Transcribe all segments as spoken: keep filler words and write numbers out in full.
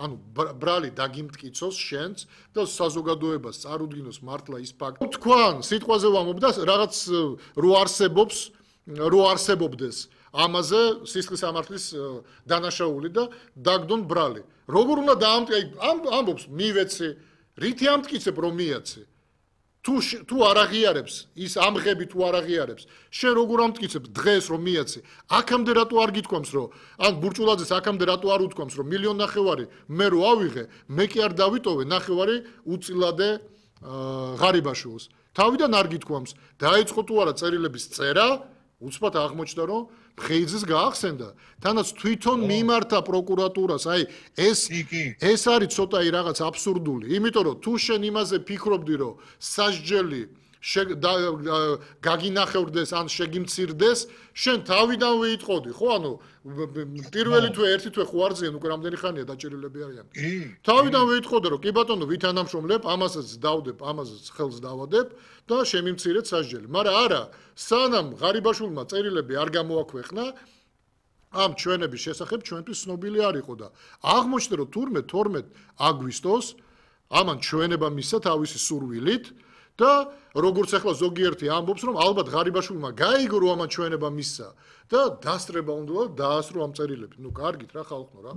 ანუ ბრალი დაგიმტკიცოს შენც და საზოგადოებას წარუდგინოს მართლა ის ფაქტი. თქვენ სიტყვაზე ვამბობ და რაღაც რო არსებობს, რო არსებობდეს ამაზე სისხლის სამართლის დანაშაული და დაგდონ ბრალი. როგორ უნდა დაამტკიცო, ამბობს მივეცი, რითი ამტკიცებ რომ მიაცი? თუ თუ არ აღიარებს, ის ამღები თუ არ აღიარებს, შენ როგორ ამტკიცებ დღეს რომ მიაცი? აქამდე რატო არ გითქვამს რომ ან ბურჭულაძეს აქამდე რატო არ უთქვამს რომ მილიონ ნახევარი მე რო ავიღე, მე კი არ დავიტოვე ნახევარი უწილადე ღარიბაშვილს. თავიდან არ გითქვამს, დაიწყო თუ არა წერილების წერა, უცბად აღმოჩნდა რომ ხეიძეს გაახსენდა. თანაც თვითონ მიმართა პროკურატურას, აი ეს ეს არის ცოტა რაღაც აბსურდული, იმიტომ რომ თუ შენ იმაზე ფიქრობდი რომ სასჯელი გაგინახევრდეს ან შეგიმცირდეს, შენ თავიდანვე იტყოდი, ხო? ანუ პირველი თვე ერთი თვე ხო არ ძიან, უკვე რამდენი ხანია დაჭერილები არიან. თავიდანვე იტყოდი რომ კი ბატონო ვითანამშრომლებ, ამასაც დავდებ, ამასაც ხელს დავადებ და შემიმცირეთ სასჯელი. მაგრამ არა, სანამ ღარიბაშვილმა წერილები არ გამოაქვეყნა, ამ ჩვენების შესახებ ჩვენთვის ცნობილი არ იყო და აღმოჩნდა რომ თურმე თორმეტ აგვისტოს ამან ჩვენება მისცა თავისი სურვილით და როგორც ახლა ზოგიერთი ამბობს რომ ალბათ ღარიბაშვილმა გაიგო რომ ამან ჩვენება მისცა და დასწრება უნდა დაასრო ამ წერილები. ნუ კარგით რა ხალხო რა.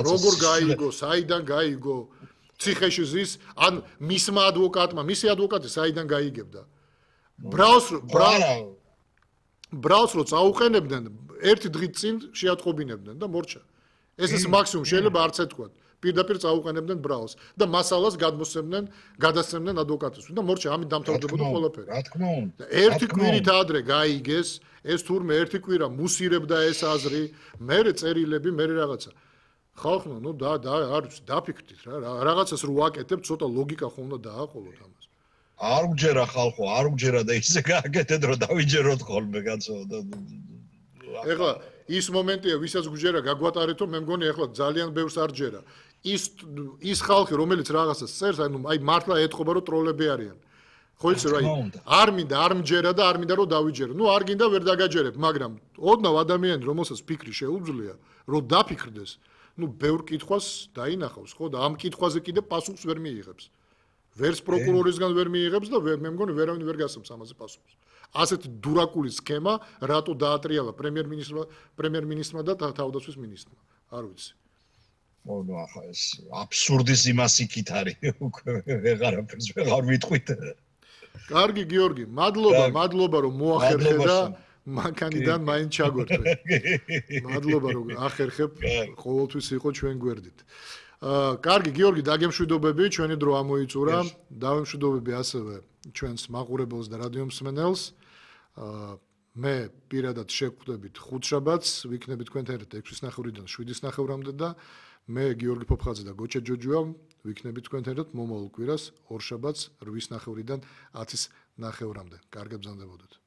როგორ გაიგო, საიდან გაიგო? ციხეში ზის ან მისმა ადვოკატმა, მისი ადვოკატი საიდან გაიგებდა? ბრალს ბრალს რო წაუყენებდნენ, ერთი დღით წინ შეატყობინებდნენ და მორჩა. ეს ის მაქსიმუმ შეიძლება არც ეთქვათ. პირდაპირ წაუყენებდნენ ბრალს და მასალას გადმოსცემდნენ, გადასცემდნენ ადვოკატებს და მორჩა ამით დამთავრდებოდა ყველაფერი. რა თქმა უნდა. ერთი კვირით ადრე გაიგეს, ეს თურმე ერთი კვირა მუსირებდა ეს აზრი, მერე წერილები, მერე რაღაცა. ხალხო, ნუ და და არ დაფიქრდით რა, რაღაცას რო ვაკეთებთ, ცოტა ლოგიკა ხო უნდა დააყოლოთ ამას. არ უჯერა ხალხო, არ უჯერა და ისე გააკეთეთ რომ დავიჯეროთ ხოლმე კაცო და ეხლა ის მომენტია, ვისაც გუჯერა გაგვატარეთო, მე მგონი ეხლა ძალიან ბევრს არ ჯერა. ის ის ხალხი, რომელიც რაღაცას წერს, ანუ აი მართლა ეთყობა რომ ტროლები არიან. ხო იცი რა, არ მინდა, არ მჯერა და არ მინდა რომ დავიჯერო. ნუ არ გინდა ვერ დაგაჯერებ, მაგრამ ოდნავ ადამიანი, რომელსაც ფიქრი შეუძლია, რომ დაფიქრდეს, ნუ ბევრ კითხვას დაინახავს, ხო და ამ კითხვაზე კიდე პასუხს ვერ მიიღებს. ვერც პროკურორისგან ვერ მიიღებს და მე მგონი ვერავინ ვერ გასცემს ამაზე პასუხს. ასეთი დურაკული სქემა რატო დაატრიალა პრემიერ-მინისტრმა, პრემიერ-მინისტრმა და თავდაცვის მინისტრმა? არ ვიცი. მოდო ახლა ეს აბსურდის იმას იქით არის უკვე ვეღარაფერს ვეღარ ვიტყვით. კარგი გიორგი, მადლობა, მადლობა რომ მოახერხე და მანქანიდან მაინც ჩაგვერდე. მადლობა რომ ახერხებ, ყოველთვის იყო ჩვენ გვერდით. კარგი გიორგი, დაგემშვიდობები, ჩვენი დრო ამოიწურა. დავემშვიდობები ასევე ჩვენს მაყურებელს და რადიო მსმენელს. მე პირადად შევხვდებით ხუთშაბათს, ვიქნებით თქვენთან ერთად ექვსის ნახევრიდან შვიდის ნახევრამდე და მე გიორგი ფოფხაძე და გოჩა ჯოჯოა ვიქნებით თქვენთან ერთად მომავალ კვირას ორშაბათს რვის ნახევრიდან ათის ნახევრამდე. კარგად ბრძანდებოდეთ.